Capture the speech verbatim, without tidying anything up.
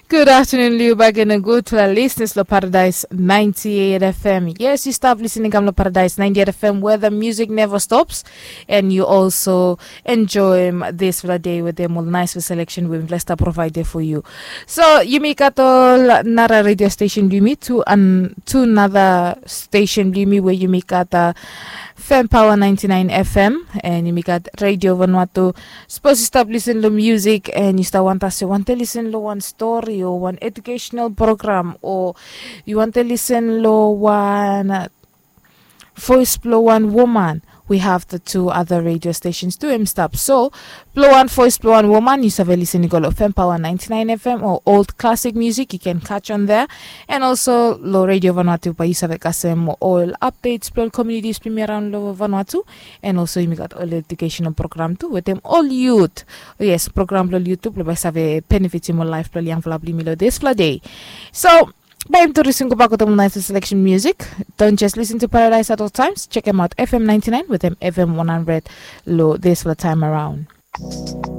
Good afternoon, Liu Bagen, and good to our listeners lo Paradise ninety-eight F M. Yes, you stop listening, come lo Paradise ninety-eight F M, where the music never stops, and you also enjoy um, this for the day with them all nice selection we blessed provide there for you. So you make at all nara radio station do me to an to another station do me where you make at uh, Fem Power ninety-nine F M, and you make at Radio Vanuatu. Suppose you stop listening to music and you start want us to want to listen to one story or one educational program, or you want to listen to one uh, voice blow one woman. We have the two other radio stations to him stop. So, blow one voice, blow one woman. You save listen to go Fem Power ninety-nine F M or old classic music. You can catch on there. And also, lo Radio Vanuatu, but you save kasem all updates, blow communities, premier around lo Vanuatu. And also, you got all educational program too with them all youth. Yes, program lo youth too, but save benefit mo life lo young fella, bli me lo this fella day. So, bae mi introduce yu go back with the nice selection music. Don't just listen to Paradise at all times. Check him out, F M ninety-nine with him F M one hundred lo this for the time around.